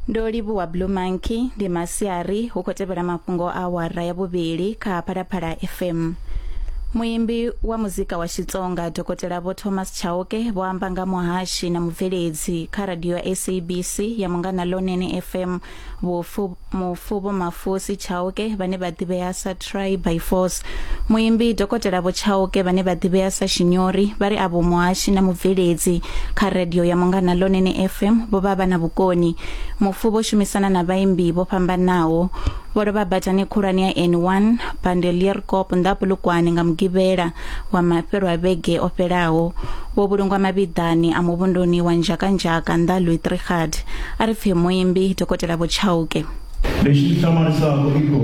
Ndo livhuwa Blue Monkey ndi masiari hu khou tevhela mafhungo a awara ya vhuvhili kha Phalaphala FM. Muimbi wa muzika wa Xitsonga Dokotela Vho Thomas Chauke vho amba nga muhashi na mubveledzi kha radio ya SABC ya Munghana Lonene FM vhufu mufu Vho Mafusi Chauke vhane vha ḓivhea sa Try by Force. Muimbi Dokotela Vho Chauke vhane vha ḓivhea sa Shinyori vha ri avho muhashi na mubveledzi kha radio ya Munghana Lonene FM vho vha vha na vhukoni. Mufu vho shumisana na vhaimbi vho fhambanaho. Vho lovha badani khulwane ya N1 Bandelierkop nnḓa Polokwane nga Mugivhela wa mafhelo a vhege o fhelaho. Vho vhulungwa mavhiḓani a muvhunduni wa Nzhakanzhaka nnḓa Louis Trichardt. A ri pfe muimbi Dokotela Vho Chauke. Lexi hlamarisaka i ku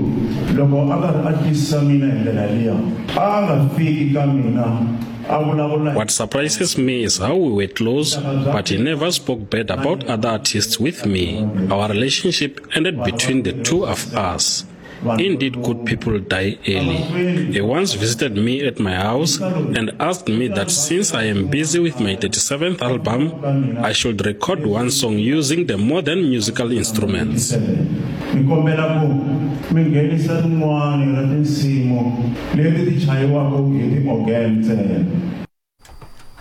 loko a karhi a twisisa mina hi ndlela liya, a a nga fiki ka mina a vulavula What surprises me is how we were close, but he never spoke bad about other artists with me. Our relationship ended between the two of us. Indeed, good people die early. He once visited me at my house and asked me that since I am busy with my 37th album, I should record one song using the modern musical instruments. Ni kombela ku mi nghenisa rin'wana ra tinsimu leti ti chayiwaka hi ti-organ ntsena.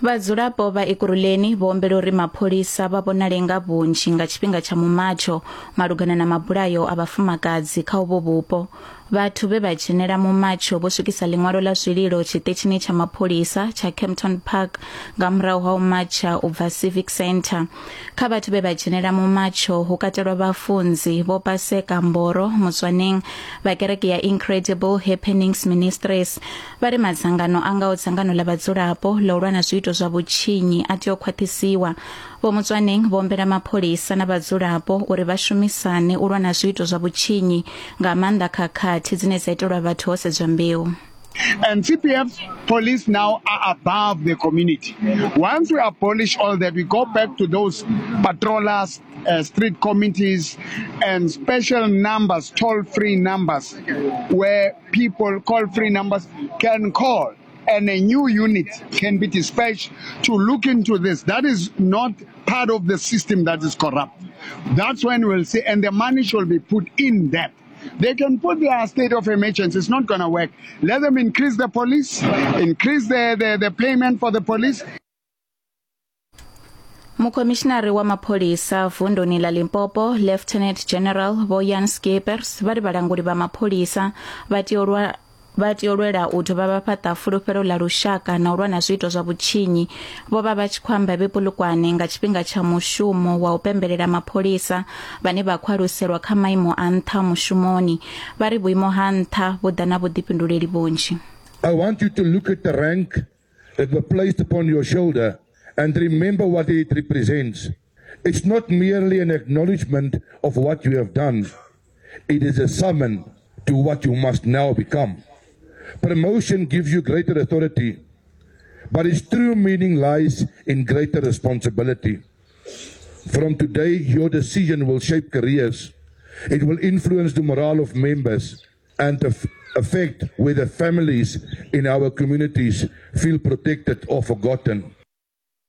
Vhadzulapo vha Ekurhuleni vho humbela uri mapholisa vha vhonale nga vhunzhi nga tshifhinga tsha mumatsho malugana na mabulayo a vhafumakadzi kha uvho vhupo. Vhathu vhe vha dzhenela mumatsho vho swikisa ḽiṅwalo ḽa zwililo tshiṱitshini tsha mapholisa tsha Kempton Park nga murahu ha u matsha u bva Civic Centre. Kha vhathu vhe vha dzhenela mumatsho hu katelwa vhafunzi Vho Paseka Mboro Mutswaneng vha kereke ya Incredible Happenings Ministries. Vha ri madzangano a ngaho dzangano ḽa vhadzulapo ḽa u lwa na zwiito zwa vhutshinyi a tea u khwaṱhisiwa. Vho Mutswaneng vho humbela mapholisa na vhadzulapo uri vha shumisane u lwa na zwiito zwa vhutshinyi nga maanḓa khakhathi dzine dza itelwa vhathu ho sedzwa mbeu. And CPF police now are above the community. Once we abolish all that, we go back to those patrollers, street committees, and special numbers, toll-free numbers, where people call-free numbers can call, and a new unit can be dispatched to look into this. That is not part of the system that is corrupt. That's when we'll see, and the money should be put in that. They can put their state of emergency. It's not going to work. Let them increase the police, increase the payment for the police. Mukhomishinari wa mapholisa vunduni ḽa Limpopo Lieutenant General Vho Jan Skeepers vha ri vhalanguli vha mapholisa vha tea u lwa vha tea u lwela u dovha vha fhaṱa fulufhelo ḽa lushaka na u lwa na zwiito zwa vhutshinyi. Vho vha vha tshi khou amba vhe Polokwane nga tshifhinga tsha mushumo wa u pembelela mapholisa vhane vha khou aluselwa kha maimo a nṱha mushumoni. Vha ri vhuimo ha nṱha vhu ḓa na vhuḓifhinduleli vhunzhi. I want you to look at the rank that were placed upon your shoulder and remember what it represents. It's not merely an acknowledgement of what you have done. It is a summon to what you must now become. Promotion gives you greater authority, but its true meaning lies in greater responsibility. From today, your decision will shape careers. It will influence the morale of members and affect whether families in our communities feel protected or forgotten.